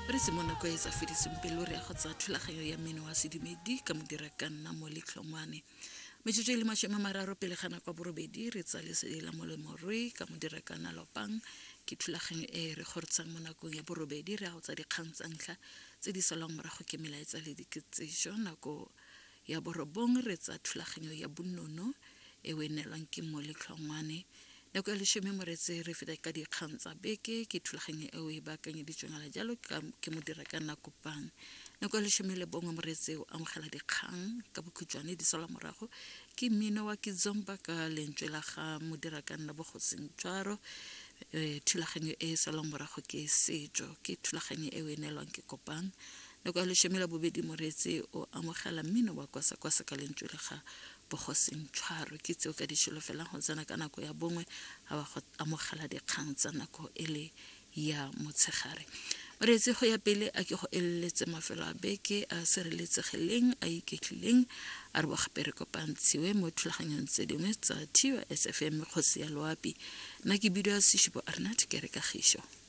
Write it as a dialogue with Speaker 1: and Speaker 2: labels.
Speaker 1: Re se mo nako e sa fediseng pelo re ya go tsaya thulaganyo ya mmino wa sedumedi ka modira ka nna mo letlhongwane. Metsotso e le 30 pele ga nako ya borobedi re tsaya lesedi la molemorui ka modira ka nna lopang ke thulaganyo e re goretsang mo nakong ya borobedi re ya go tsa dikgang tsa ntlha tse di salwang morago ke melaetsa le diketsešo nako ya borobong re tsa thulaganyo ya bonono e o e neelwang ke mo letlhongwane nako ya leshome moretse re feta ka dikgang tsa beke ke thulaganyo eo e baakanyeditsweng ala jalo ke modira ka nako pang nako ya 11 moretse o amogela dikgang ka bokhutshwane di salwa morago ke mmino wa kizomba ka lentswe la ga modira ka nna bogosing tshwaro um thulaganyo e e salwang morago ke setso ke thulaganyo eo e neelwang ke kopang Nako ya 12 moreetsi o amogela mmino wa kwasa kwasa ka lentswe la ga Bogosing Tshwaro. Ke tseo ka di šolofelang go tsena ka nako ya bongwe ga ba go amogela dikgang tsa nako e le ya motshegare. Moreetsi go ya pele a ke go eleletse mafelo a beke a sireletsegileng a iketlileng a re bo gape re kopantshiwe mo thulaganyong tse dingwe tsa TUSFM kgosi ya loapi. Nna ke bidiwa Seshupo Arnat ke re kagišo.